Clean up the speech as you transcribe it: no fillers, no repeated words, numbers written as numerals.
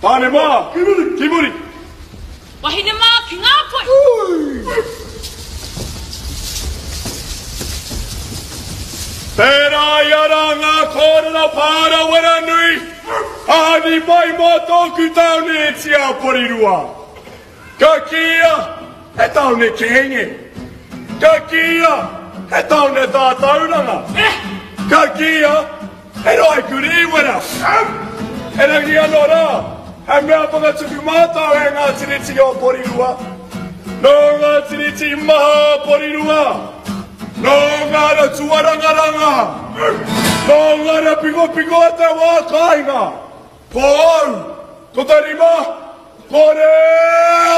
Tāne mā, ki muri, ki muri. Wahine mā, ki ngā poi. Tērā i ara ngā kōrero pārawera nui a Hani mai mō tōku tāone e tia Porirua. Ka kīia he tāone kēnge. Ka kīia he tāone tātauranga. Ka kīia He rohe kurī wera. Erangi anō rā, he mea whakatupu mātau e ngā tiriti o Porirua. Nō ngā tiriti maha o Porirua, nō ngā ra tuarangaranga, nō ngā ra pikopiko o te wā kāinga, ko au, ko te rima, ko re.